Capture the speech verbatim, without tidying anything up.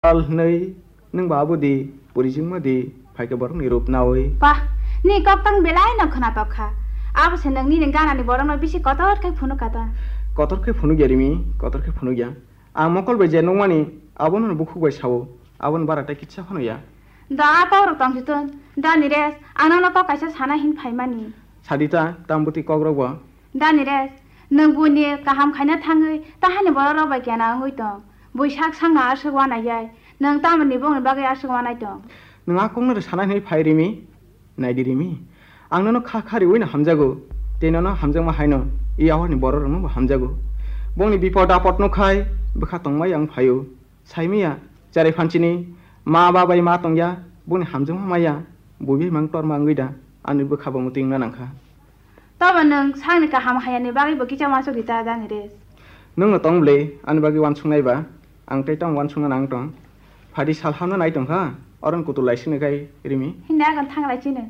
Sal hwnwi nwng ba abo di, purijwngma di, phaikhe borokni rup nawi. Pah, ni kok tang belai no khwnatok kha. Abo se nwng nini ganani borokno bisi kotor khe phunuk kha ta. Kotor khe phunuk ya Rimi, kotor khe phunuk ya. Ang mokol bai je nukmani, abono bukhuk bai sao, aboni bara tei kisa phano ya. Da a kok rok tong si tun, da Niresh, ang nono kok kaisa sana hin phaimani. Sadi ta, tam bwtwi kok rok bo. Da Niresh, nwng buini kaham khaina thangwi tahani borok rok bai kena wngwi tong. Bui sak sakno aswk wanai yai, nwng tamoni bongni bagwi aswk wanai tong? Nwng a kokno rw sana hinwi phai Rimi? Naidi Rimi, ang nono kha kha riwi no hamjago, tei nono hamjakma haino i yawarni borok rokno bo hamjago. Bongni bipod apod no khai bwkha tongmai ang phaio. Saimaya, cherai phanchini ma ba bai ma tongya, boni hamjakma maya, buibai mang torma wngwi da, ani bwkha bo mwtwi wngna nangkha. Tobo nwng sakni kaham hayani bagwi bo kisa uansuk di ta, da Niresh. Nwng no tong ble, ani bagwi uansuknai ba, ang tei tamo uansukna nang tong. Phadi sal hamna nai tong kha, oron kutul lai sini kai Rimi. Hindi agan thang lai chini.